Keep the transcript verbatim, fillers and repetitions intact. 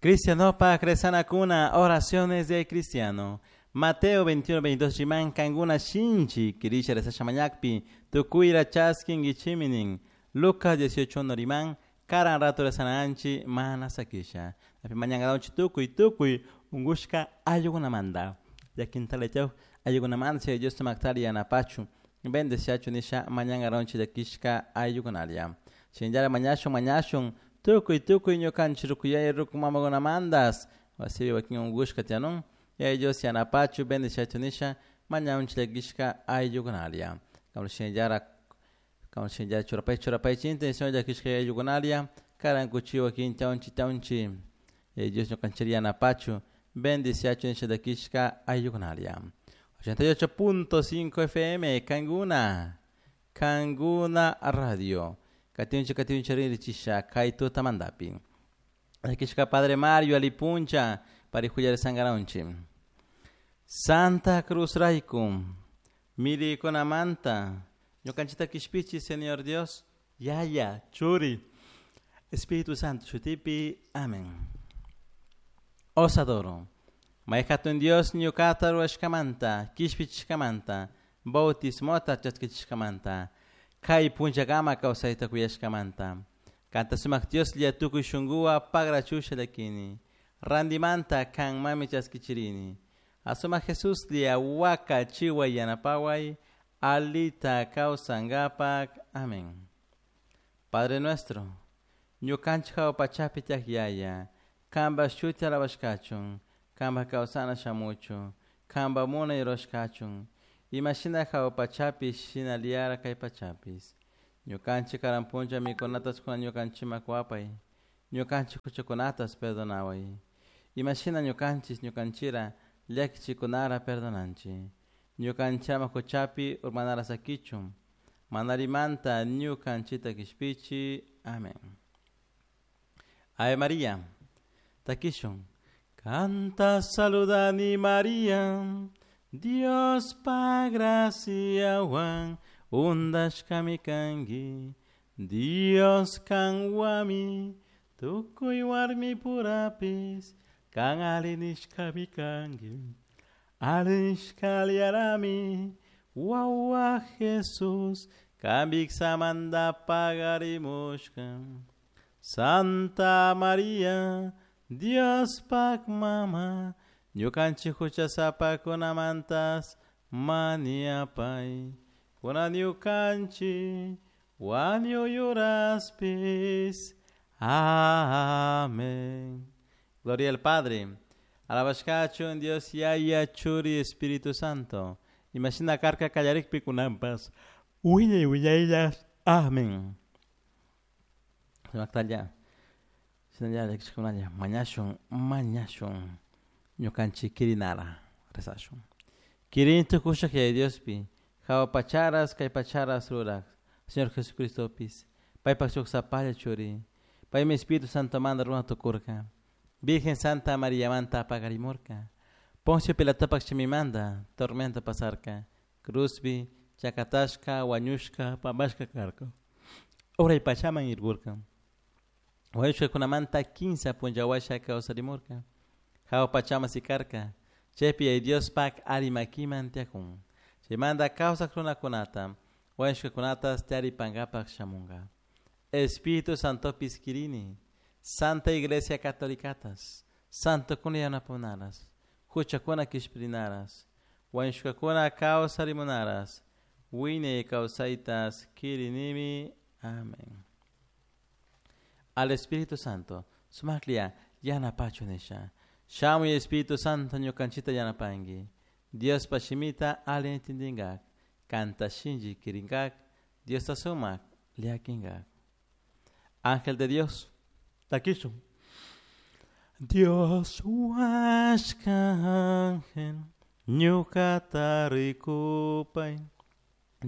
Cristianopa Cuna, oraciones de cristiano. Mateo veintiuno, veintidós chiman kanguna shinchi kirisha rezasha mañakpi tukuyra chaskinkichiminin. Lucas dieciocho uno riman karan rato rezananchi mana sakisha. Api mañangaronchi tukuy tukuy ungushka ayukunamanta. Llakintaletaw ayukunamanta chay Dios tumaktari yanapachu bendeciachu nisha mañangaronchi llakishka ayukunaria. Shinllara mañashun mañashun tukuy tukuy ñukanchik rukuyay rukumamakunamantas wasipi wakin ungushka tiyanun yaya Dios yanapachu bendeciachu nisha mañanchik llakishka ayukunaria. Kamla shinllara kamla shinllara churapay churapay intención llakishka ayukunaria karan kuchi wakin tawnchi tawnchi yaya Dios ñukanchik yanapachu bendeciachu nisha llakishka ayukunaria. ochenta y ocho punto cinco F M Kanguna Kanguna Radio. Katinchi katinchi ririchisha kaituta mandapi. Llakishka Padre Mario alipuncha parihuyar sangaraunchi. Santa Cruz Raikum mirikunamanta ñukanchita kishpichi Señor Dios Yaya Churi Espíritu Santo shutipi. Amén. Os adoro. Mayhatun Dios ñukata ruwashkamanta kishpichishkamanta bautismota chaskichiskamanta kay punchakama kawsayta kuyashkamanta kanta sumak Dios lla tukuy shunkuwa pagrachusha llakini randimanta kanmami chaskichirini asuma Jesús lla waka chiwa yanapaway alita kawsankapak. Amén. Padre nuestro ñukanchik hawa pachapi tiyak yaya kanpa shuti alabashkachun kanpa kawsana shamuchun kanpa munay rurashkachun imashina hawa pachapi shinallara kay pachapis ñukanchik karan puncha mikunatas kuna ñukanchikman kuwapay ñukanchik huchakunatas perdonaway imashina ñukanchik ñukanchira llakichikunara perdonanchik ñukanchama huchapi urmanara sakichun manarimanta ñukanchita kishpichi. Amén. Ave María takishun. Canta saludani María, Dios pa graciawan undashkami kanki, Dios kanwami tukuy warmi purapis kan alinishkami kanki, alinishkaliarami wawa Jesús kambiksamanta pagarimushka. Santa María Dios pak mama ñukanchik huchasapakunamantas maniapay kuna ñukanchik wañuyuraspis. Amén. Gloria al Padre, alabashkachun Dios Yaya Churi Espíritu Santo. Imashina karka kallarikpi kunampas wiñay wiñaylas. Amén. Sumaktalla shinalla llakishkunalla mañashun mañashun ñukanchik kirinara rezashun. Kirin tukushak Yaya Diospi hawa pacharas kay pacharas rurak Señor Jesucristopis paypak shuk sapalla churi paymi Espíritu Santo manda runa tukurka Virgen Santa María manta pagarimurka Poncio Pilatopak shimimanta tormenta pasarka cruzpi chakatashka wañushka pambashka karka uray pachaman irkurka wañushkakunamanta kinsa punllawasha kawsarimurka hawa pachaman sikarka chaypi Yaya Diospak arimakiman tiyakun chaymanta kawsak runakunata wañushkakunatas tiyaripankapak shamunka. Espíritu Santopis kirini Santa Iglesia Catolicatas Santokuna yanapunaras huchakuna kishpirinaras wañushkakuna kawsarimunaras wiñay kawsaytas kirinimi. Amén. Al Espíritu Santo sumaklia yanapachu nisha shamuy Espíritu Santo ñukanchita yanapanki Diospa shimita alli entendinkak kanta shinchi kirinkak Diosta sumak llakinkak. Ángel de Dios takishun. Dios huashka ángel ñukata rikupay